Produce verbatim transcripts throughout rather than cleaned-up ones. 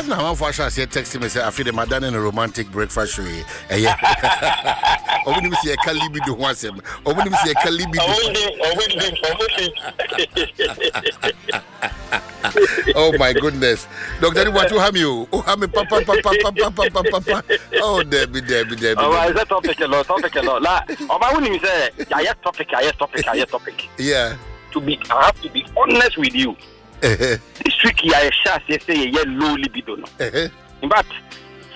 Na amanfoɔ ahyɛ aseɛ text me sɛ afei de madane no romantic breakfast show yi. Ɛyɛ ɔmo nim sɛ yɛka libido ho asɛm, ɔmo nim sɛ yɛka libido. Ɔmo nim, ɔmo nim, ɔmo nim. Oh my goodness, Doctor Adu Boakye, woha me o, woha me papa papa papa papa papa. Oh, Debbie, Debbie, Debbie. Ɔba ɛsɛ topic no, topic no na ɔba wonim sɛ yɛayɛ topic, ayɛ topic, ayɛ topic. Yeah to be I have to be honest with you, this week yɛahyɛ aseɛ sɛ yɛyɛ low libido no. In fact,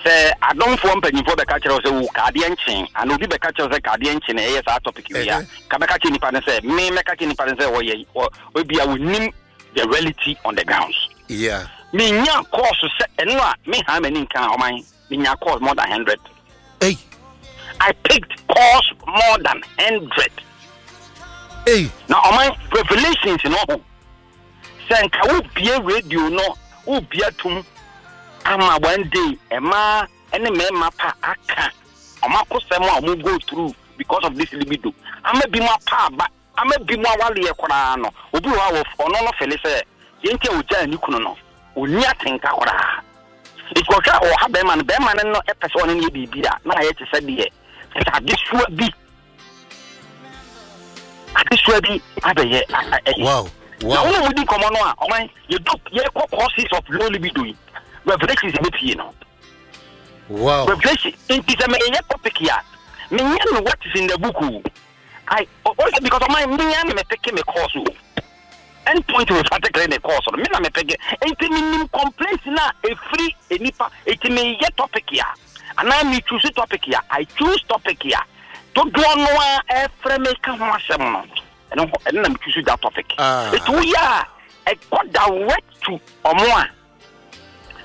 sɛ adomfoɔ mpanyimfoɔ bɛka kyerɛ wo sɛ wo kaadeɛ nkyen ana obi bɛka kyerɛ wo sɛ kaadeɛ nkyen na ɛyɛ saa topic wei a, ka bɛka kyerɛ nipa no sɛ me mɛka kyerɛ nipa no sɛ ɔyɛ ebia wɔnim the reality on the grounds. Yeah menya calls sɛ ɛno a me ha m'ani nka ɔman, menya calls more than hundred. Hey. I picked calls more than hundred. Hey. Na ɔman, revelations no ho sɛ nka wobie radio no, wobie atum ama one day ɛmaa ɛne mmarima pa aka ɔmo akosɛm a ɔmo go through because of this libido, ama bi mu apa aba, ama bi mu awaleɛ koraa no. Obi wɔ hɔ a ɔno no feel sɛ yɛnti a ogyaa ne kunu no, onni atenka koraa. Nti ɔhwɛ a ɔha bɛrima no, bɛrima no no ɛpɛ sɛ ɔne no yɛ biribi a na ayɛ te sɛ deɛ sɛ adesoa bi adesoa bi abɛyɛ ɛyɛ. wow Na wow wɔn a wɔdi nkɔmɔ no a ɔman yɛdu yɛkɔ causes of low libido yi, revelations ɛbɛpie no. Wow revelation. Nti sɛ meyɛ topic a, menyɛ no what is in the book o. I also because ɔman menya na mepick me course o. End Point Homeopathic Clinic course no, me na mepick, nti menim complaints na ɛfiri nipa. Nti meyɛ topic a anaa me choose topic a, I choose topic a dodoɔ no a ɛfrɛ me ka ho asɛm no, ɛno hɔ ɛno na me choose that topic. Ah. Nti woyɛ a ɛkɔ direct to ɔmo a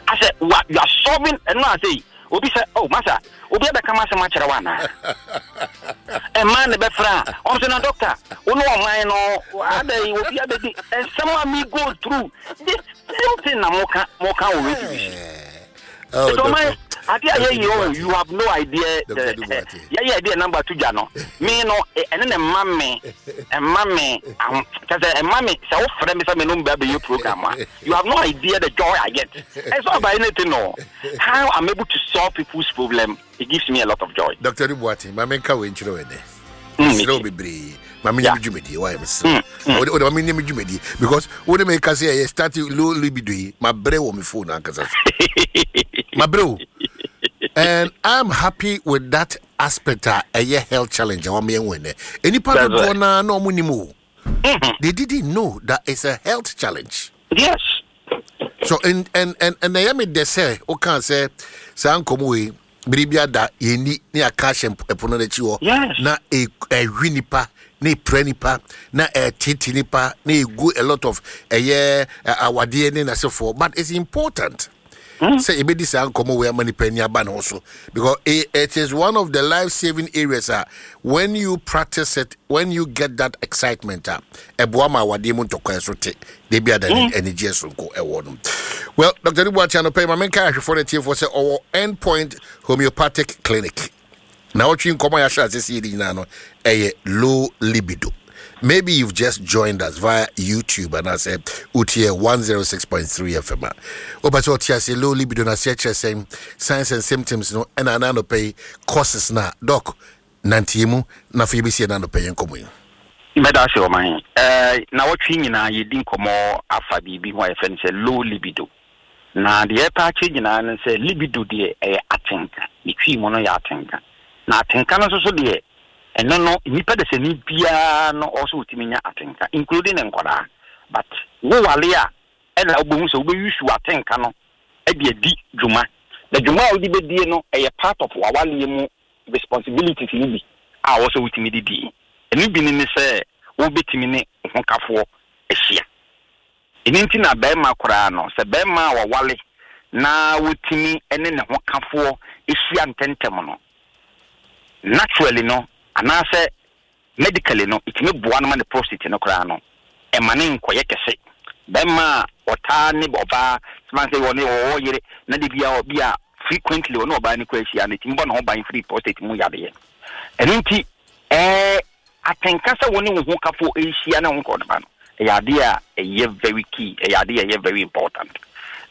asɛ wa you are solving ɛno a sɛ obi sɛ, "Oh masa, obi abɛka ma asɛm akyerɛ wo anaa?" Ɛma ne bɛfrɛ a ɔm sɛ, "Na doctor, wo ne ɔman no adɛn, obi abɛdi nsɛm a me go through this same thing na moka moka wɔ radio bi so." Oh, Nti ɔman, ade a yɛyɛ o, you have no idea. Doctor Adu Boakye. Yɛyɛ adeɛ number to dwa no, me no ɛ- ɛne ne mma me ɛmma me aho kyɛ sɛ ɛmma me sɛ wofrɛ me sɛ me no mbɛ abɛyɛ program a, you have no idea the joy I get. It's not about anything no, how I'm able to solve people's problem, it gives me a lot of joy. Doctor Adu Boakye, ma menka wei nkyerɛ wo ɛnɛ. Mm, mesrɛ wo bebree, ma menyɛ Yeah. me dwumadie wayɛ, mesrɛ wo. Wode ma menyɛ me dwumadie because wode meka sɛ ɛyɛ start low libido yi, mabrɛ wɔ me phone ankasa so, mabrɛ o, and I'm happy with that aspect a ɛyɛ health challenge a wɔn yɛn wɔ ɛnɛ. Nipa That's dodoɔ right. naa na wɔn nim o, they didn't know that it's a health challenge. Yes so and and and and ɛyɛ mi dɛ sɛ ɔka sɛ saa nkɔmɔ wei biribi ada yɛni ne yɛaka ahyɛ mp- ɛpono n'akyi hɔ. Yes. Na e- ɛhwi nipa na epira nipa na ɛtete nipa na egu a lot of ɛyɛ ɛ, awadeɛ ne n'asefoɔ, but it's important sɛ ebedi saa nkɔmɔ wei ama nipa ani aba ne ho so because it, it is one of the life saving areas a when you practice it, when you get that excitement a ɛboa ma awadeɛ mu ntɔkwa so te debi ada ne anigyeɛ sonko ɛwɔ no. Well, Doctor Adu Boakye, anɔpɛ yi ma menka ahwɛfoɔ no atiefoɔ sɛ ɔwɔ End Point Homeopathic Clinic na ɔtwe nkɔmɔ a yɛahyɛ ase sɛ yɛdi nyinaa no ɛyɛ low libido. Maybe you've just joined us via YouTube and I said wotie one oh six point three F M a wopɛ sɛ ɔte ase low libido no aseɛ kyerɛ sɛn, signs and symptoms no, ɛna ana anɔpɛ yi causes na doc nanteɛ mu na afei yɛbɛsie no anɔpɛ yɛ nkɔmmɔ yi. Mɛda ase ɔman. ɛɛ na wɔtwe nyinaa yɛdi nkɔmmɔ afa biribi ho a yɛfrɛ no sɛ low libido, na deɛ ɛpɛ akyerɛ nyinaa no sɛ libido deɛ ɛyɛ atenka, ne twi mu no yɛ atenka, na atenka no nso so deɛ ɛno no nnipa de sɛ ni biara no ɔwɔ sɛ wotumi nya atenka, including ne nkɔdaa, but wowale a ɛna wobɛhu sɛ wobɛuse atenka no ɛde adi dwuma, na dwuma a wode bɛdie no ɛyɛ part of wawaleɛ mu responsibilities no bi a wɔwɔ sɛ wotumi de die. Ɛno bi ne ne sɛ wobɛtumi ne wo ho kafoɔ ahyia. Ɛno nti na bɛrima koraa no, sɛ bɛrima a wɔwale na wotumi ne ne ho kafoɔ ahyia ntɛntɛm no, naturally no anaasɛ medically no, ɛtumi boa no ma ne prostate no koraa no ɛma ne nkɔyɛ kɛse. Bɛrima a ɔtaa ne ɔbaa sɛ sɛ ɔne ɔwɔ yere na de bia ɔbi a frequently ɔne ɔbaa no kɔ ahyia no, ɛtumi bɔ ne ho ban firi prostate mu yadeɛ. Ɛno nti ɛɛ atenka sɛ wo ne wo ho kafo ahyia ne ho nkɔdoma no ɛyɛ adeɛ a ɛyɛ very key, ɛyɛ adeɛ a ɛyɛ very important.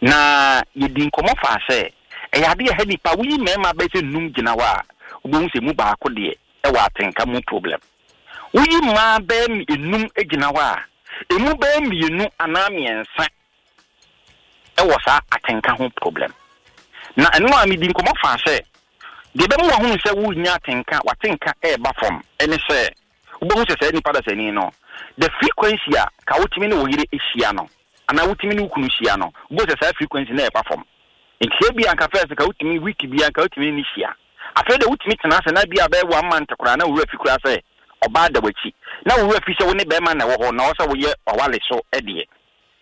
Na yɛdi nkɔmmɔ fa sɛ ɛyɛ adeɛ ɛha nipa. Woyi mmarima bɛyɛ sɛ num gyina hɔ a, wobɛhu sɛ mu baako deɛ ɛwɔ atenka mu problem. Woyi mmaa bɛyɛ enum gyina hɔ a, emu bɛyɛ mmienu anaa mmiɛnsa ɛwɔ saa atenka ho problem. Na ɛno a medi nkɔmmɔ fa sɛ deɛ ɛbɛma wahunu sɛ wonya atenka, watenka ɛɛba fam, ɛne sɛ wobɛhu sɛ saa nipa dasani no, the frequency a ka wotumi ne wo yere ahyia no anaa wotumi ne wo kunu hyia no, wobɛhu sɛ saa frequency no ɛɛba fam. Nti sɛ bi anka first ka wotumi week bi anka wotumi ne hyia, afei de wotumi tena ase na bi a bɛyɛ one month koraa na wowura fi koraa sɛ ɔbaa da w'akyi, na wowura fi sɛ wo ne bɛrima na ɛwɔ hɔ na ɔwɔ sɛ woyɛ ɔwale so. Ɛdeɛ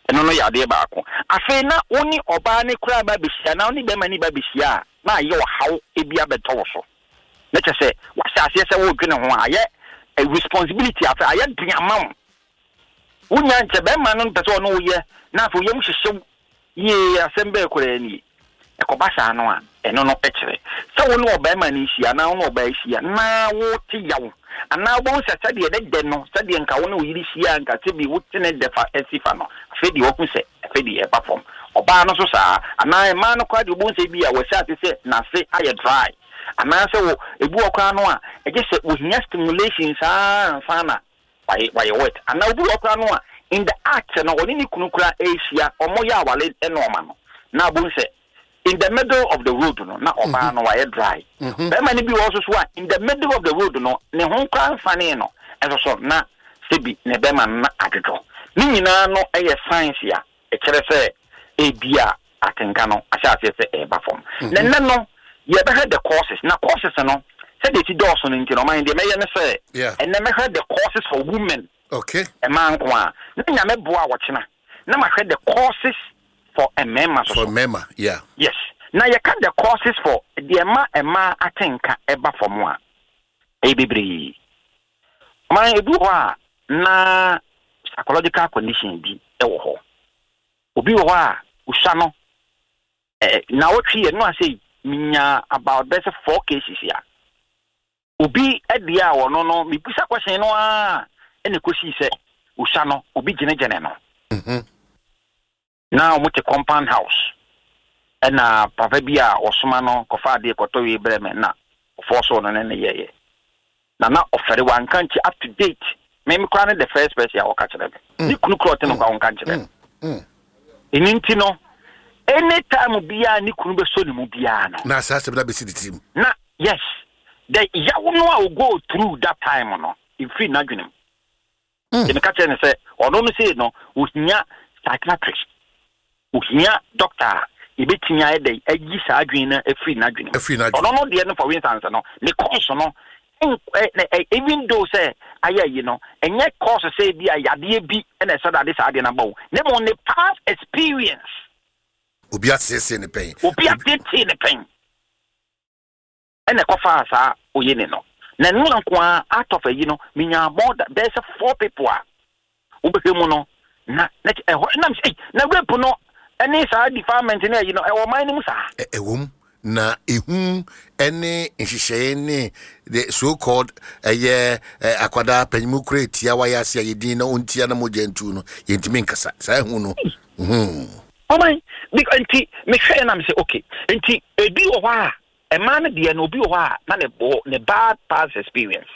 ɛno no yɛ adeɛ baako. Afei na wo ne ɔbaa ne koraa ba bɛhyia na wo ne bɛrima ne ba bɛhyia a, na ayɛ ɔhaw ebi abɛtɔ wo so, na kyerɛ sɛ wahyɛ aseɛ sɛ wodwene ho a, ayɛ a responsibility. Afei ayɛ den ama wo, wonya nkyɛ bɛrima no mpɛ sɛ ɔne woyɛ, na afei woyam hyehyew yie. Asɛm bɛɛ koraa nie, ɛkɔba saa no a, ɛno no kyerɛ sɛ wo ne ɔbarima no hyia anaa wo ne ɔbaa hyia na wote yaw, anaa wobɛhu sɛ sɛdeɛ dɛdɛ no, sɛdeɛ nka wo ne wo yere hyia nka sɛbi wote ne dɛ fa asi fa no, afei deɛ wahu sɛ afei deɛ ɛba fam. Ɔbaa no so saa, anaa mmaa no koraa deɛ, wobɛhu sɛ bi a wɔhyɛ ase sɛ n'ase ayɛ dry, anaasɛ wɔ ebi wɔ koraa no a, ɛgye sɛ wɔhia stimulation saa ansa na wayɛ wayɛ wet, anaa obi wɔ koraa no a, in the act no, ɔne ne kunu koraa ɛrehyia, ɔmo yɛ awale nɔɔma no, na abom sɛ in the middle of the road no na ɔbaa no wayɛ dry. Bɛrima no bi wɔ so so a, in the middle of the road no, ne ho koraa nfane no ɛso so na sɛbi ne bɛrima no na adwodwo. Ne nyinaa no ɛyɛ science a ɛkyerɛ sɛ ebi a atenka no ahyɛ aseɛ sɛ ɛreba fam. Na nnɛ no yɛbɛhwɛ the causes, na causes no sɛdeɛ esi dɔɔso no nti no, ɔman deɛ mɛyɛ ne sɛ Yeah. ɛnnɛ mɛhwɛ the causes for women, okay ɛmaa nko a, na Nyame boa a wɔkyena na mahwɛ the causes for mmarima so. For so mmarima, yeah. Yes, na yɛka the causes for deɛ ma mmaa atenka ɛba fam a, ɛyɛ bebree. Ɔman ebi wɔ hɔ a na psychological condition bi ɛwɔ hɔ. Obi wɔ hɔ a osua no ɛɛ na wɔtwe yɛ no ase minya about bɛsɛ four cases a obi ɛdeɛ a ɔno no mibisa question no a, ɛna ekosi sɛ osua no obi gyinagyina no Mhm. na wɔn te compound house, ɛna papa bi a ɔsoma no kɔfa adeɛ kɔtɔ wie brɛ me na ɔfɔ so no ne ne yɛyɛ na na ɔfɛre wanka nkyɛ. Up to date, me me koraa ne the first person a wɔka kyerɛ me, ne kunu kura ɔte no kora wɔnka nkyerɛ no. Mm. Ɛno nti no, anytime biara ne kunu bɛsɔ ne mu biara no, na saa asɛm no abɛsi ne tirim. Na yes, the yaw no a o go through that time no efiri n'adwene mu. Mm. Deɛ meka kyerɛ ne sɛ ɔno no sei no, ohia psychiatrist, ohia doctor a ebɛtumi ayɛ dɛ ayi saa adwene no afiri n'adwene mu. Afiri n'adwene. Ɔno no deɛ no, for instance no, ne cause no ɛn- ɛ- ɛ- ɛ- even though sɛ ayɛ ayi no, ɛnyɛ cause sɛ bi a yadeɛ bi ɛna ɛsɛ dade saa adeɛ no aba wo, ne mo ne past experience. Obi asiesie ne pɛn. Obi atetee ne pɛn ɛna ɛkɔfaa saa oye ne no. Na ɛno nko a, out of ayi no, menya more than bɛyɛ sɛ four people a wobɛhwɛ mu no na na kyɛ- ɛhɔ nam sɛ, "Ei, na rape no ɛne saa defilement ne ayi no ɛwɔ ɔman no mu saa?" Ɛ- ɛwɔ mu, na ehu ɛne nhyehyɛeɛ ne the so called ɛyɛ ɛ, akwadaa panyimu kura etia wayɛ ase a yɛdin na ɔntia na mogya ntu no, yɛntumi nkasa saa ehu no Mhm. Ɔman because nti mehwɛ nam sɛ okay, nti ebi wɔ hɔ a ɛmaa no deɛ no, obi wɔ hɔ a na ne bɔ ne bad past experience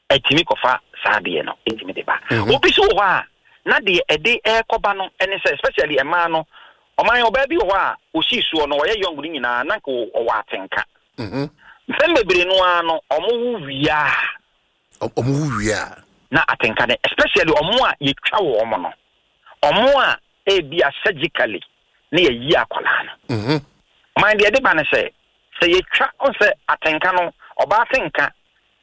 ɛtumi kɔfa saa deɛ no, ɛtumi de ba. Obi so wɔ hɔ a na deɛ ɛde ɛrekɔba no ɛne sɛ, especially ɛmaa no, ɔman ɔbaa bi wɔ hɔ a osii soɔ no, ɔyɛ young no nyinaa na nka ɔwɔ atenka. Mhm. Mpɛn bebree no ara no, ɔmo wo wia Ɔ- ɔmo wo wie a, na atenka no, especially ɔmo a yɛtwa wɔ ɔmo no, ɔmo a ebi a surgically ne yɛyi akwadaa no. Mhm. Ɔman deɛ ɛde ba ne sɛ sɛ yɛtwa ɔn sɛ atenka no, ɔbaa atenka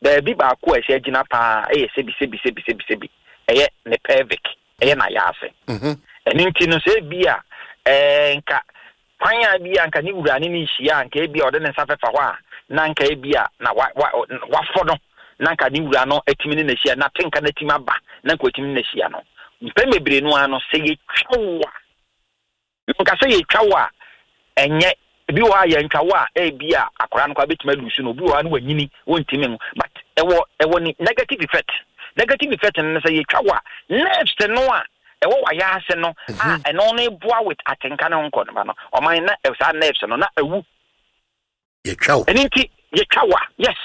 baabi baako a ɛhyɛ gyina paa ɛyɛ sɛbi sɛbi sɛbi sɛbi sɛbi ɛyɛ ne pelvic, ɛyɛ n'ayaase. Mhm. Ɛno nti no, sɛ ebi a ɛɛ nka kwan a bi a nka ne wura ne ne hyia a, nka ebi a ɔde ne nsa fɛfa hɔ a, na nka ebi a na wa wa wafɔ no, na nka ne wura no atumi ne n'ahyia na atenka no atumi aba na nka watumi ne n'ahyia no. Mpɛn bebree no ara no, sɛ yɛtwa wo a, nka sɛ yɛtwa wo a, ɛnyɛ ebi wɔ hɔ a yɛntwa wo a, ebi a akwaraa no koraa bɛtumi alusu no. Obi wɔ hɔ a no wanyini wɔntumi no, but ɛwɔ ɛwɔ ne negative effect. Negative effect no ne sɛ yɛtwa wo a, nerves no a ɛwɔ wayɛ ase no a ɛno no boa with atenka ne ho nkɔ no ba no, ɔman, na saa nerves no na awu. Yɛtwa wo. Ɛno nti yɛtwa wa, yes.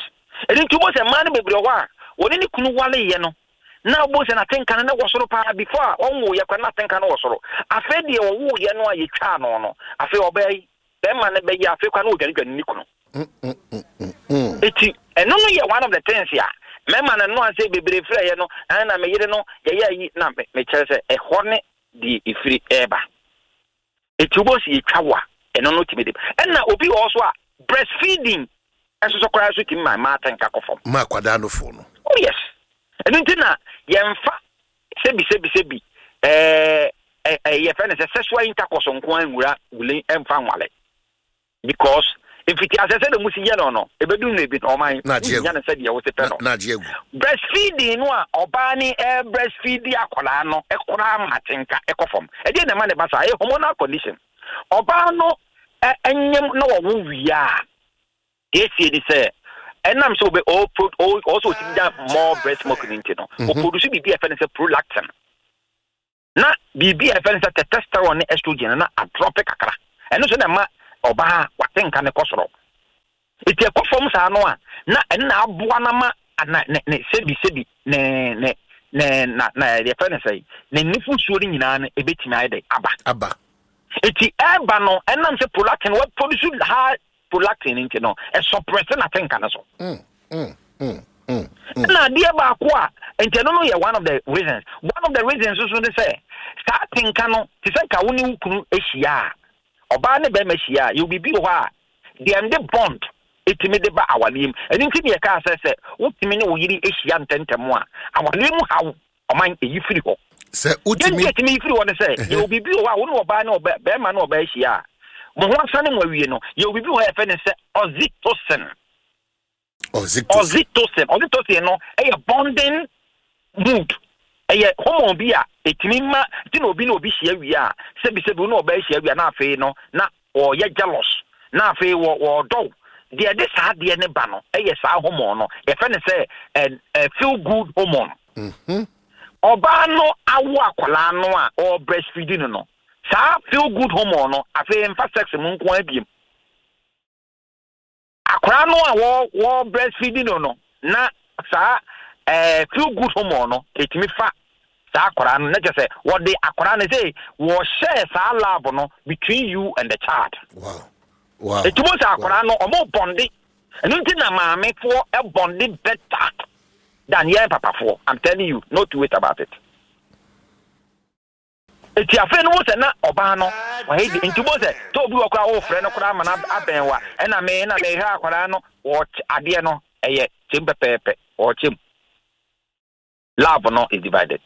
Ɛno nti wobɔ sɛ mmaa no bebree wɔ hɔ a wɔne ne kunu waleyɛ no na wobɔ sɛ n'atenka no na wɔ soro paa before a ɔnwoyɛ kora, n'atenka no wɔ soro. Afei deɛ ɔwoyɛ no a yɛtwaa no no afei ɔbɛyɛ yi bɛrima no bɛyɛ, afei kora na ɔdwanedwane ne kunu. Eti ɛno no yɛ one of the things a mmarima no no ase bebree frɛ yɛ no ɛna na meyere no yɛyɛ ayi na me- mekyerɛ sɛ ɛhɔ ne deɛ ɛfiri ɛɛba. Eti wobɔ sɛ yɛtwa wo a, ɛno no tumi de ɛna obi wɔ hɔ so a breastfeeding ɛso so koraa so tumi ma mmaa atenka kɔ fam. Ma akwadaa no fo no. Oh yes, ɛno nti na yɛmfa sɛbi sɛbi sɛbi ɛɛ ɛɛ yɛfɛ no sɛ sexual intercourse nko ara nwura wule ɛmfa nwale, because mfiti asɛ sɛ de mu si yɛ no no ebedu no ebi na ɔman Na agye agu. Wonya no sɛdeɛ wɔsi pɛ no. Na agye agu. Breastfeeding no a ɔbaa ne ɛ breastfeed akwadaa no ɛkoraa ma atenka ɛkɔ fam. Ɛdeɛ na ɛma ne ba saa ɛyɛ hormonal condition. Ɔbaa no ɛ ɛnyɛm na wɔwo wie a, esie ni sɛ ɛnam sɛ ɔbɛ ɔpro ɔsɛ ɔtumi gya more breast milk ne nti no, ɔproduce biribi a ɛfɛ no sɛ prolactin na biribi a ɛfɛ no sɛ testosterone ne estrogen na adrop kakra. Ɛno nso na ɛma ɔbaa watenka ne kɔ soro. Eti ɛkɔ fam saa no a, na ɛno na aboa na ma ana ne ne sebi sebi ne ne ne na na yɛfɛ no sɛ ne nufusuo no nyinaa no ebetumi ayɛ dɛ aba. Aba. Eti ɛba no, ɛnam sɛ prolactin wɔ produce high prolactin nti no, ɛsuppress n'atenka no so. Mm, mm, mm, mm. Ɛna adeɛ baako a nti ɛno no yɛ one of the reasons one of the reasons nso ne sɛ saa atenka no te sɛ nka wo ne wo kunu ahyia a, ɔbaa ne bɛrima ahyia a, yɛwɔ biribi wɔ hɔ a deɛ nde bond ɛtumi de ba awareɛ mu. Ɛno nti ne yɛkaa sɛ sɛ wotumi ne wo yere ahyia ntɛntɛm a, awareɛ mu haw, ɔman, ɛyi firi hɔ. Sɛ yɛn wotumi deɛ ɛtumi yi firi hɔ ne sɛ yɛwɔ biribi wɔ hɔ a wo ne ɔbaa ne ɔbaa bɛrima ne ɔbaa ahyia a, mo ho asane mo awie no, yɛwɔ biribi wɔ hɔ a yɛfrɛ ne sɛ oxytocin. Oxytocin. Oxytocin oxytocin no ɛyɛ bonding mood, ɛyɛ hormone bi a ɛtumi ma ti na obi na obi hyia wie a, sɛbisɛbi, wo ne ɔbaa hyia wie a, na afei no na wɔyɛ jealous, na afei wɔ wɔɔdɔw. Deɛ ɛde saa adeɛ ne ba no ɛyɛ saa hormone no, yɛfrɛ no sɛ ɛ ɛ feel good hormone. Mhm. Ɔbaa no awo akwadaa no a ɔwɔ breastfeeding no no saa feel good hormone no afei mfa sex mu nko abiem. Akwadaa no a wɔ wɔ breastfeeding no no na saa ɛɛ feel good hormone no etumi fa saa akwadaa no, na kyerɛ sɛ wɔde akwadaa no sɛ wɔhyɛ saa love no between you and the child. wow wow Etumu sɛ akwadaa no ɔmo bond. Ɛno nti na maamefoɔ ɛbond better than yɛn papafoɔ. I'm telling you, no two ways about it. Eti afei no wo sɛ na ɔbaa no wayɛ di nti wo sɛ tɛ obi wɔ koraa wɔfrɛ no koraa ama no abɛn wa ɛna me na mehwɛ akwadaa no, wɔkyɛ adeɛ no ɛyɛ kyɛm pɛpɛɛpɛ, wɔkyɛm love no is divided.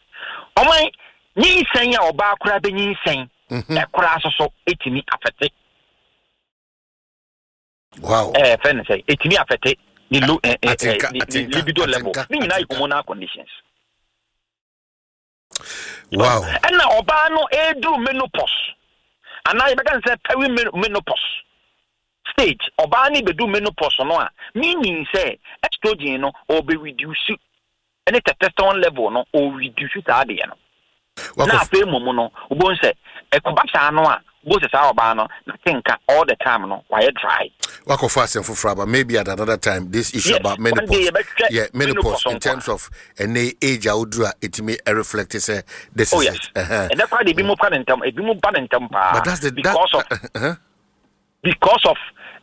Ɔman, nyinsɛn a ɔbaa koraa bɛ nyinsɛn ɛkoraa so so etumi affect. Wow ɛɛ fɛn ne sɛ etumi affect ne low ɛ ɛ Atenka, ɛ ne ne atenka, libido level. Atenka, Ne nyinaa yɛ atenka. hormonal conditions. Wow ɛna ɔbaa no eduru menopause anaa yɛbɛka ne sɛ peri menopause stage, ɔbaa no bɛdu menopause no a, meaning sɛ estrogen no ɔbɛ reduce ɛne testosterone level no ɔreduce saa adeɛ no na Wakɔ afei mmom no wobɛhu sɛ ɛkɔba saa no a, wobɛhu sɛ saa ɔbaa no na tenka all the time no wayɛ dry. Wakɔfa asɛm foforɔ aba. Maybe at another time, this issue Yes, about one day menopause. yɛbɛhwɛ Yeah, menopause menopause in terms of ɛnɛ age a woduru a ɛtumi reflect sɛ this oh is yes it uh-huh. Ɛnɛ koraa de ebi mu ka ne ntɛm, ebi mu ba ne ntɛm paa. But that's the that, because of uh-huh. because of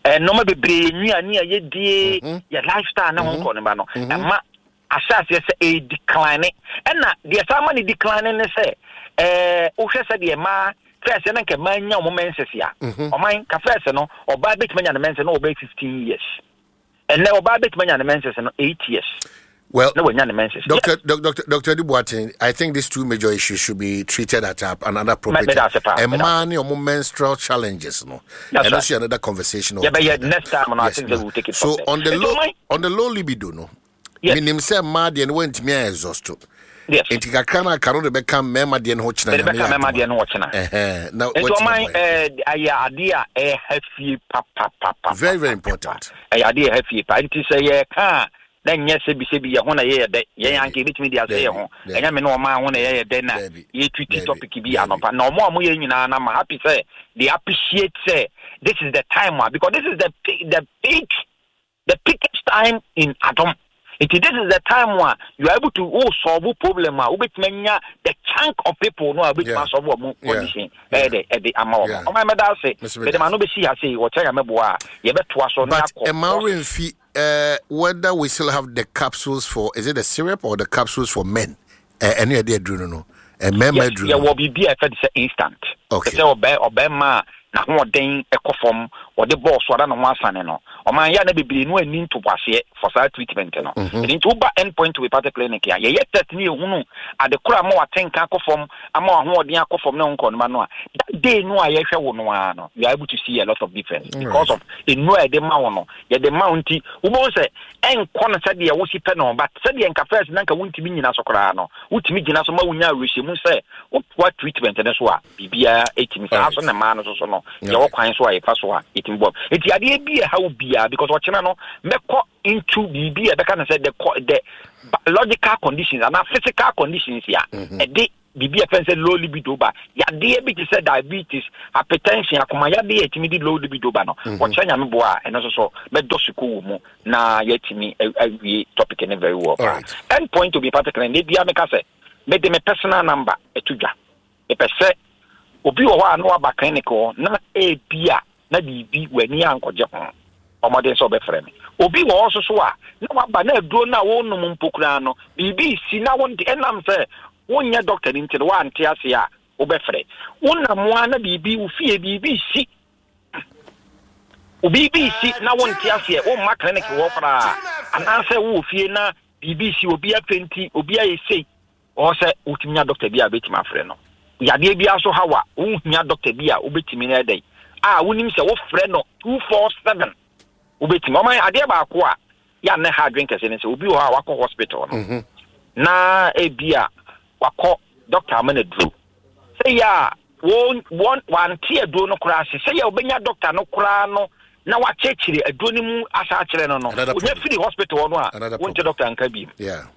eh, nneɛma bebree, nnuane a yɛdie, Mhm. yɛ lifestyle ne ho nkɔ ne ba no ɛma ahyɛ aseɛ sɛ ɛyɛ decline. Ɛna deɛ saa ma ne decline ne sɛ ɛɛ wohwɛ sɛ deɛ mmaa first na nka mmaa nya wɔn menses a, ɔman ka first no ɔbaa bɛtumi anya ne menses na ɔbɛyɛ fifteen years. Ɛnɛ ɔbaa bɛtumi anya ne menses no eight years Well, na wanya ne menses. Doctor, Doctor, Doctor Dubuatin, I think these two major issues should be treated at a, another appropriate Me- me that's a part, time. me And money or menstrual challenges, no. That's And right. also another conversation Yeah, but yeah, altogether. next time, no, I Yes, think no. that we'll take it So from there. on the Nti low ɔman- on the low libido, no. Yes. Minim sɛ mmaa deɛ no wɔntumi exhaust. Yes. Nti kakra no aka no de bɛka mmarima deɛ no ho kyena. Mede bɛka mmarima deɛ no ho kyena. Ɛhɛn, na nti wɔatumi ɔman aboa yɛn. ɛɛ ayɛ adeɛ a ɛha fie papapapa. Very, very important. Ɛyɛ adeɛ a ɛha fie pa, nti sɛ yɛka a Na nyɛ sɛbi sɛbi yɛ ho na yɛyɛ dɛ, yɛn anka yɛbɛtumi de asɛ yɛ ho. Ɛnyɛ me ne ɔman ho na yɛyɛ dɛ na yɛtwiti topic bi anɔpa na ɔmo a ɔmo yɛ nyinaa na ma happy sɛ they appreciate sɛ this is the time a, because this is the peak, the peak the peakest time in Adom. Nti this is the time a you are able to, oh, solve problem a wobɛtumi anya the chunk of people no a wobɛtumi asolve ɔmo condition ɛyɛ dɛ ɛde ama wɔn. Ɔmo mɛda ase, mɛde ma no bɛsi ha sei. Wɔkyɛ Nyame boa a, yɛbɛtoa so na But akɔ. Emma Renfi, uh, whether we still have the capsules for, is it the syrup or the capsules for men? Uh, any idea, no no. Uh, men. Yes, yɛwɔ biribi a yɛfɛ de sɛ instant. Okay. Sɛ ɔbɛ ɔbɛrima a n'ahoɔden ɛkɔ fam, ɔde bɔɔl so ada ne ho asane no, ɔman yɛ a na bebree no ani ntoboaseɛ for saa treatment no. Mhm. Ɛno nti woba End Point Homeopathic Clinic a, yɛyɛ test ne yɛhunu ade koro ama watenka akɔ fam, ama wahoɔden akɔ fam ne wo nkɔnoma no a, that day no a yɛhwɛ wo no ara no, you are able to see a lot of difference because of nnuro a yɛde ma wo no. Yɛde ma wo nti wobɛhu sɛ ɛnkɔ no sɛdeɛ wosi pɛ no, but sɛdeɛ nka first na nka wontumi nyina so koraa no, wotumi gyina so ma wonya awerɛhyɛmu sɛ wotoa treatment no so a, biribiara ɛtumi saa so. Ne mmaa no so so no, yɛwɔ kwan so a yɛfa so a yɛtumi bɔ. Nti adeɛ bi a ɛha wo biara, because ɔkyena no mɛkɔ into biribi a ɛbɛka no sɛ the the biological conditions anaa physical conditions a ɛde biribi a ɛfɛn sɛ low libido ba, yadeɛ bi te sɛ diabetes, hypertension, akoma yadeɛ a ɛtumi de low libido ba no. Ɔkyerɛ Nyame boa a, ɛno nso so mɛdɔ sukuu wɔ mu na yɛatumi awie topic no very well paa. End Point Homeopathic Clinic ne bia meka sɛ mede me personal number ɛto dwa. Mepɛ sɛ obi wɔ hɔ a na waba clinic hɔ na ebi a na biribi w'ani ankɔgye ho, ɔmɔden sɛ ɔbɛfrɛ me. Obi wɔ hɔ nso so a na waba na aduro no a wɔnom mpo koraa no, biribi si na wɔnte, ɛnam sɛ wonyɛ doctor no nti no woante ase a, wobɛfrɛ. Wonam a na biribi wo fie biribi si, biribi si na wonte aseɛ, womma clinic wɔ koraa, anaasɛ wowɔ fie na biribi si, obi afɛnti, obi ayɛ sei, ɔwɔ sɛ wotumi nya doctor bi a wobɛtumi afrɛ no. Yadeɛ biara so haw a wohia doctor bi a wobɛtumi no ɛdɛn a wonim sɛ wofrɛ no two four seven wobɛtumi. Ɔman adeɛ baako a yɛ ne ha adwen kɛse ne sɛ obi wɔ hɔ a wakɔ hospital no Mhm. na ebi a wakɔ, doctor ama no aduro sɛ yɛ a wɔn wɔn wante aduro no koraa ase, sɛ yɛ wobɛnya doctor no koraa no na wakyerɛkyerɛ aduro no mu asa akyerɛ no no onya firi hospital hɔ no a, wonte doctor nka bi.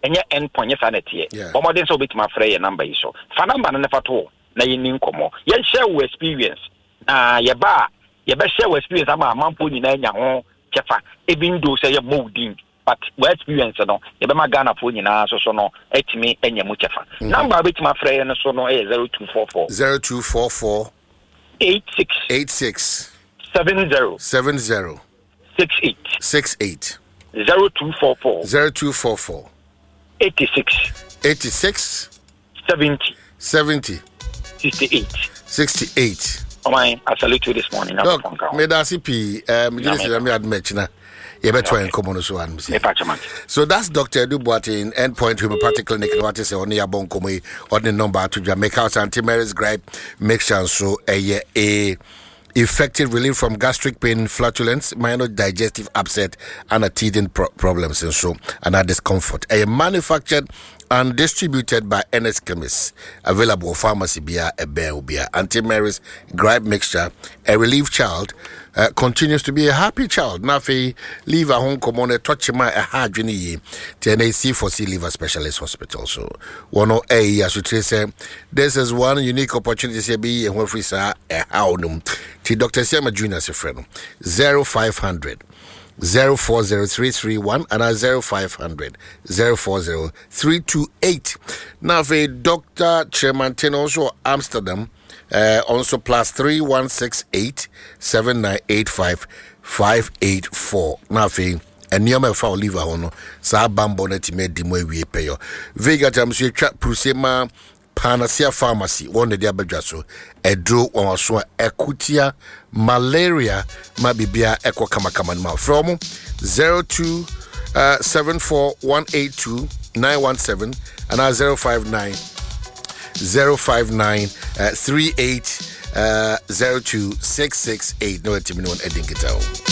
Ɛnyɛ End Point, nyɛ saa na ɛteɛ. Bɔmmɔden sɛ wobɛtumi afrɛ yɛ number yi so. Fa number no ne fa to na yɛnni nkɔmmɔ, yɛnhyɛ wo experience na yɛba a yɛbɛhyɛ wo experience ama amanfoɔ nyinaa nya ho kyɛfa. Even though sɛ yɛmmɔ wo din, but wo experience no yɛbɛma Ghanafoɔ nyinaa so so no atumi anya mu kyɛfa. mm -hmm. Number a wobɛtumi afrɛ yɛ no so no ɛyɛ zero two four four zero two four four eight six eight six seven zero seven zero six eight. six eight. zero two four four zero two four four eighty-six eighty-six seventy seventy sixty-eight. sixty-eight. Ɔman, I salute you this morning. Doc, medase pii. um, gyene sɛ Nyame adom akyina yɛbɛtoa yɛn nkɔmmɔ no so anom sɛ. So that's Doctor Edu Boateng, Endpoint Homeopathic Clinic no. Wate sɛ ɔne yɛabɔ nkɔmmɔ yi, ɔde ne number ato dwa. Meka wo sɛ Auntie Mary's Gripe Mixture nso ɛyɛ a effective relief from gastric pain, flatulence, minor digestive upset, and a teething pro- problems and so and a discomfort. A manufactured and distributed by N S Chemists. Available pharmacy bia a bia. Auntie Mary's Gripe Mixture, a relief child uh, continues to be a happy child. Na afei liver ho nkɔmmɔ no ɛtɔ kyema a ɛha adwene yie, nti ɛnɛ C for C Liver Specialist Hospital so wɔno ɛyi asotire sɛ this is one unique opportunity sɛ ɛbɛyi yɛn ho afiri saa ɛhaw no mu. Nti Doctor Siama Junior se frɛ no zero five hundred zero four zero three three one anaa zero five hundred zero four zero three two eight. Na afei Doctor Kyerɛmanten nso wɔ Amsterdam, uh, also plus three one six eight seven nine eight five five eight four. Na afei nneɛma ɛfa oliver ho no, saa bambɔ no atumi adi mu awie pɛyɔ. Vegatam so yɛtwa pruse ma Panacea Pharmacy, wɔn na de abadwa so ɛduro wɔn aso a ɛkotia malaria ma biribia ɛkɔ kamakama no ma. Frɛ mo zero two uh, seven four one eight two nine one seven anaa zero five nine zero five nine uh, three eight uh, zero two six six eight na watumi ne wɔn adi nkita.